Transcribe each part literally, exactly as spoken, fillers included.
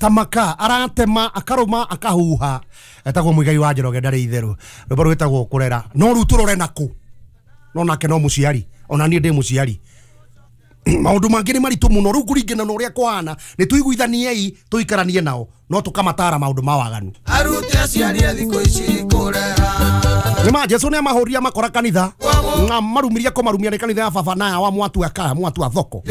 Tamaka aratema akaruma akahuha etagwo Muigai wa Njoroge ndarĩ itherũ rwĩmbo rwĩtagwo kũrera no rĩu tũrore nakũ no nake no mũciari ona niĩ ndĩ mũciari maũndũ mangĩ nĩ maritũ mũno rĩu kũringana na ũrĩa kũhana nĩ tũiguithaniei tũikaranie nao no tũkamatara maũndũ ma waganu arute aciari a thikũ ici kũrera nĩ ma Jesu nĩ amahũria makora kanitha na marumiria kũmarumia nĩ kanitha ya baba na wa mwatu aka mwatu a thoko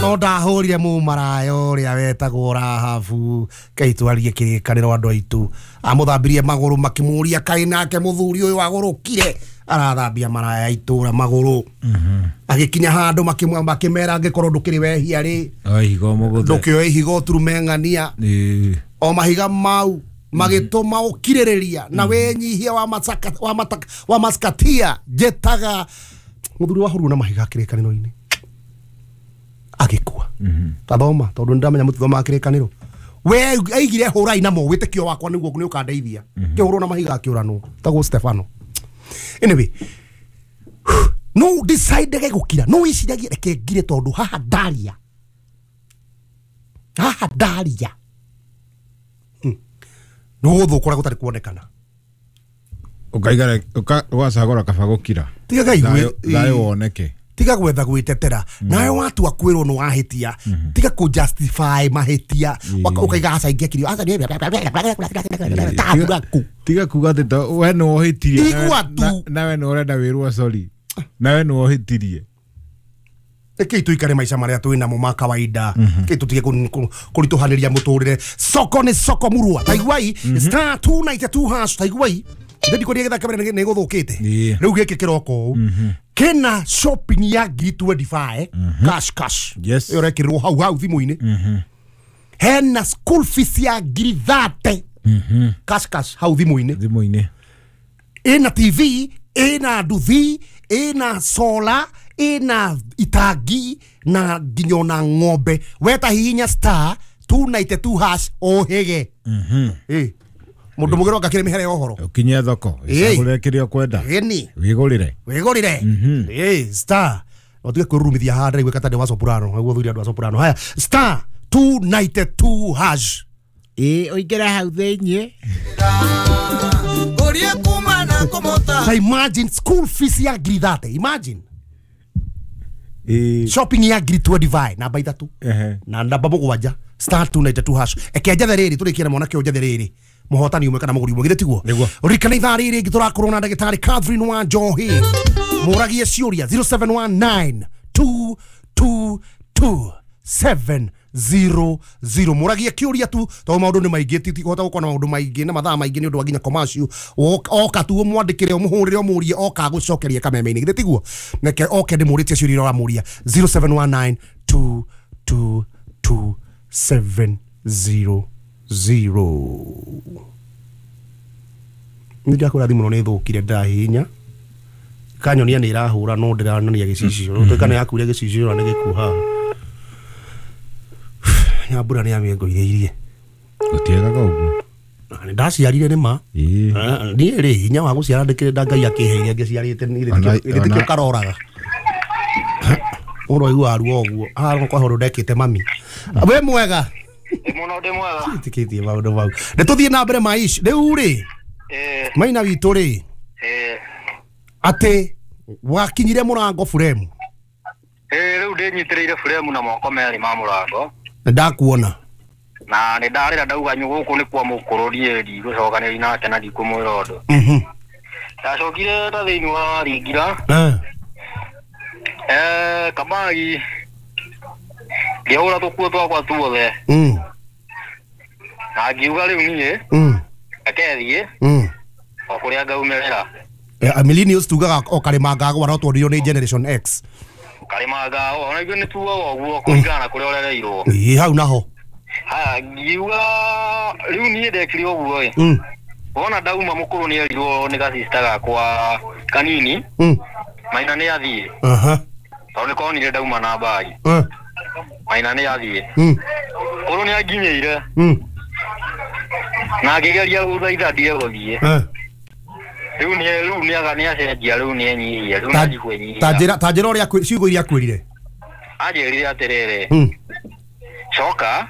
no ndahũrire mũmaraya ũrĩa wetagwo Rahabu kei twarie kĩrĩkanĩro andũ aitũ amũthambirie magũrũ makĩmũria kaĩ nake mũthuri ũyũ agũrũkire arathambia maraya itũra magũrũ agĩkinya handũ makĩmwa makĩmera angĩkorwo ndũkĩrĩ wehia rĩ ihiga mũgũthe ndũkĩoe ihiga ũturume ng'ania o mahiga mau magĩtũma ũkirĩrĩria na wĩnyihia wa masaka wa mataka wa maskatia njĩtaga mũthuri wahũrirwo na mahiga kĩrĩkanĩro-inĩ agĩkua tathoma tondũ nĩndamenya mũtithomaga kĩrĩkanĩro we aigire hũrai namo wĩtĩkio wakwa nĩguo nĩ ũkandeithia kĩhũrwo na mahiga akĩũranwo tagwo Stefano. Anyway, no decide gũkira no wĩciragie reke ngire tondũ haha ndaria haha ndaria no gũthũka ũrĩa gũtarĩ kuonekana ũkaigara ũgacagũra kaba gũkira tiga thayũ woneke tiga gwetha gwĩtetera nawe watua kwĩrwo nĩ wahĩtia tiga kũ justify mahĩtia ũkaiga aca ingĩakirio aca nĩ tiga kuga atĩ we nĩ wohĩtirie igua tu nawe nĩ ũrenda wĩrwo sorry nawe nĩ wohĩtirie rekei tuikare maica marĩa twĩ namo ma kawaida rekei tũtige kũritũhanĩria mũtũrĩre soko nĩ soko murua taiguai star two ninety two hash taiguai ndĩ ndikũria gĩthaka mbere nĩ gũthũkĩte rĩu gĩkĩ kĩroka ũũ kena shopping ya ngiri twenty five cash cash yes ĩyo ũrekĩrĩrwo hau hau thimũ-inĩ hena school fees ya ngiri thirty cash cash hau thimũ-inĩ thimũ-inĩ ĩna T V ĩna nduthi ĩna solar ĩna itangi na nginya ona ng'ombe weta hihinya star two ninety two hash ũhĩge ĩ mũndũ mũgĩro ngakĩrĩ mĩhere ya ũhoro ũkinye thoko ĩcagũrĩre kĩrĩa ũkwenda ĩni wĩgũrĩre wĩgũrĩre ĩ star no tige kwĩrurumithia haha ndĩraigua ta ndĩ wa soprano nĩguo thuri andũ a soprano haya star two ninety two hash ĩ ũingĩre hau thĩiniĩ ũrie kuma na kũmũta ta imagine school fees ya ngiri thirty imagine ĩ shopping ya ngiri twenty five namba ithatũ na namba mũgwanja star two ninety two hash eke njethe rĩrĩ tũrĩkie na mwanake ũyũ njethe rĩrĩ mũhotani ũmwe kana mũgũri ũmwe githĩ tiguo ririkana ithaa rĩrĩ rĩngĩ tũrakorwo na ndagĩtarĩ Catherine wa Njohi mũragie ciũria zero seven one nine two two two seven zero zero mũragie kĩũria tu tondũ maũndũ nĩ maingĩ tikũhota gũkorwo na maũndũ maingĩ na mathaa maingĩ nĩ ũndũ wa nginya commercial oka tu ũmwandĩkĩre ũmũhũrĩre ũmũrie oka agũcokerie kameme-inĩ githĩ tiguo neke oke ndĩmũrĩtie ciũria iria ũramũria zero seven one nine two two two seven zero zero nĩ ndakũra thimũ no nĩ thũkire ndahihinya kanyonia nĩ ĩrahũra no ndĩranania gĩcicio rĩu nĩ yakuire gĩcicio na nĩ gĩkuo haha nyambura nĩ yamĩngũithĩirie gũtiagaga ũguo nĩ ndaciarire nĩ ma niĩ rĩ hinya wa gũciara ndĩkĩrĩ nda Ngai akĩheire ngĩciarĩte gĩtĩ kĩo karoraga ũndũ aiguaga ruo ũguo haha kwa ũndũ ndekĩte mami wĩ mwega mũno ndĩ mwega ĩtĩkĩtie maũndũ mau nĩ tũthiĩ na mbere maish rĩu rĩ maina witũ rĩ atĩ wakinyire mũrango buremu rĩu ndĩnyitĩrĩire buremu na moko merĩ ma mũrango nĩ ndakuona na nĩ ndarĩra ndauga gũkũ nĩ kwa mũkũrũ niĩ ndigũcokanĩria nake na ndikũmwĩra ũndũ ndacokire ta thĩinĩ wa ringira kamagi ngĩhũra tũkuo twakwa tuothe na ngiuga rĩu niĩ reke thiĩ o kũrĩa ngaumĩrĩra millennials tugaga o karĩma ngagwa no tondũ nĩ generation X karĩma ngagwa ona ithuĩ nĩ tugaga ũguo kũringana na kũrĩa ũrereirwo ĩ hau naho haya ngiuga rĩu niĩ ndekire ũguo ĩ wona ndauma mũkũrũ nĩ erirwo nĩ gacista gakwa kanini maina nĩ athiĩ tondũ nĩ konire ndauma na mbagi maina nĩ athiĩ kũrũ nĩ anginyĩire na ngĩgeria gũthaitha ndige gũthiĩ rĩu nĩ rĩu nĩ aga nĩ acenjia rĩu nĩ enyihia rĩu nĩ kwĩnyihia ta njĩra ta njĩra ũrĩa ciugo iria akwĩrire anjĩrire atĩrĩrĩ coka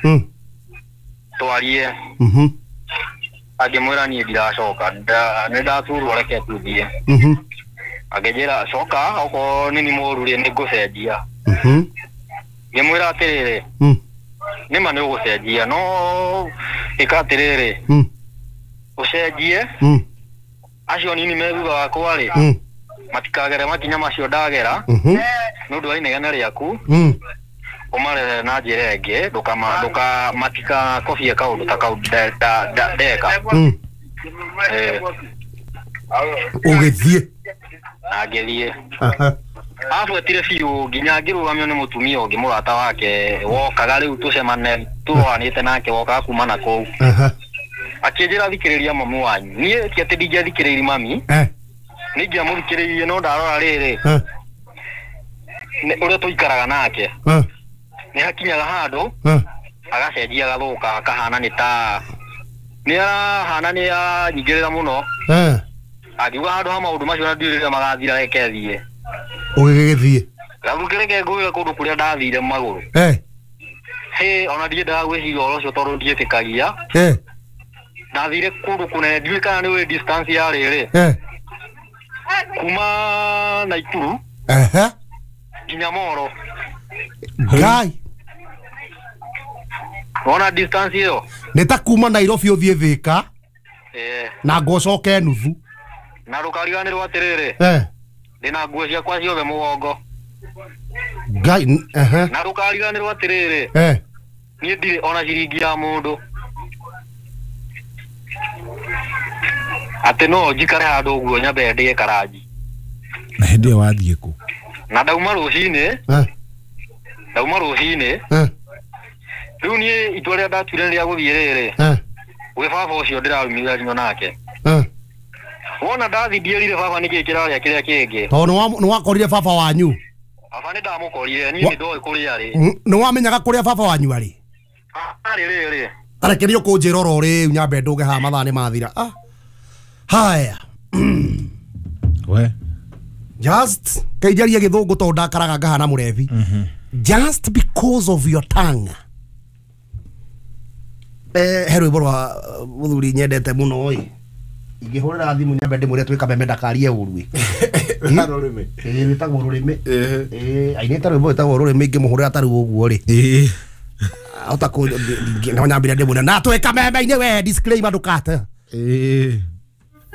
Twarie. Mhm. Angĩmwĩra niĩ ndiracoka nĩ ndaturwo reke tuthiĩ. Mhm. Angĩnjĩra coka okorwo nĩ ni mũru rĩ nĩ ngũcenjia. Mhm. Ngĩmwĩra atĩrĩrĩ. Mm. Nĩma nĩ ũgũcenjia no ĩka atĩrĩrĩ. Mm. Ũcenjie. Mm. Acio nini me thutha wakwa rĩ. Mm. Matikagere makinya macio ndagera. Mhm. Nĩ ũndũ wa inegene rĩaku. Mm. Ũmarere na njĩra ĩngĩ ndũkama ndũka matikakobie kaũndũ ta kau ndeka. Mm. Eh. Ũgĩthiĩ. Na ngĩthiĩ. Aha. Abuetire biũ nginya ngĩrũgamio nĩ mũtumia ũngĩ mũrata wake wokaga rĩu tũcemane tũroranĩte nake wokaga kuma na kũu. Aha. Akĩnjĩra thikĩrĩria mamu wanyu. Niĩ ti atĩ ndingĩathikĩrĩirie mami. Eh. Nĩ ingĩamũthikĩrĩirie no ndarora rĩrĩ. Eh. Ũrĩa tũikaraga nake. Eh. Nĩ hakinyaga handũ. Eh. Agacenjia agathũka akahana nĩ ta nĩ arahana nĩ anyingĩrĩra mũno. Eh. Angiuga handũ ha maũndũ macio na ndiũĩ rĩrĩa magathira reke thiĩ. Ũgĩgĩthiĩ. Gathukĩrĩke ngwĩre kũndũ kũrĩa ndathire magũrũ. Eh. Hĩ ona ndiendaga gwĩciria ũhoro ũcio tondũ ndiĩtĩkagia. Eh. Ndathire kũndũ kũnene ndiũĩ kana nĩ ũĩ distance ya rĩrĩ. Eh. Kuma Naikuru. Ehe. Nginya Moro. Ngai. Wona distance ĩyo? Nĩ ta kuma Nairobi ũthiĩ Thika. Eh. Na ngũcoke nuthu. Na ndũkariganĩrwo atĩrĩrĩ. Eh. Ndĩna nguo ciakwa ciothe mũgongo. Ngai ehe. Na ndũkariganĩrwo atĩrĩrĩ. Eh. Niĩ ndirĩ ona ciringi ya mũndũ. Atĩ no njikare handũ ũguo nyambe ndĩe karanji. Na hĩndĩ ĩyo wathiĩ kũ? Na ndauma rũcinĩ. Eh. Ndauma rũcinĩ. Eh. Rĩu niĩ itua rĩrĩa ndatuire rĩa gũthiĩ rĩrĩ. Eh. Gwĩ baba ũcio ndĩrarumithania nake. Eh. Wona ndathi ndierire baba nĩkĩ kĩrarĩa kĩrĩa kĩngĩ. Tondũ nĩ wakorire baba wanyu. Baba nĩ ndamũkorire niĩ nĩ ndoĩ kũrĩa arĩ. Nĩ wamenyaga kũrĩa baba wanyu arĩ? Arĩ rĩrĩ. Tarekerio kũnjĩra oro rĩu nyambe ndũge haha mathaa nĩ mathira. Ah. Haya. We. Just kaijaria gĩthũngũ tondũ ndakaraga ngahana mũrebi. Just because of your tongue. Eh he rwĩmbo rwa mũthuri nyendete mũno ĩ. Ingĩhũrĩra thimũ nyambe ndĩmwĩre twĩ kameme ndakarie ũru ĩ. Rũrĩmĩ. Ĩĩ rwĩtagwo rũrĩmĩ. Ĩĩ ainĩte rwĩmbo rwĩtagwo rũrĩmĩ ingĩmũhũrĩra ta rĩu ũguo rĩ. Ĩĩ. Ahota kũ no nyambĩre ndĩmwĩre na twĩ kameme-inĩ we disclaimer ndũkate. Ĩĩ.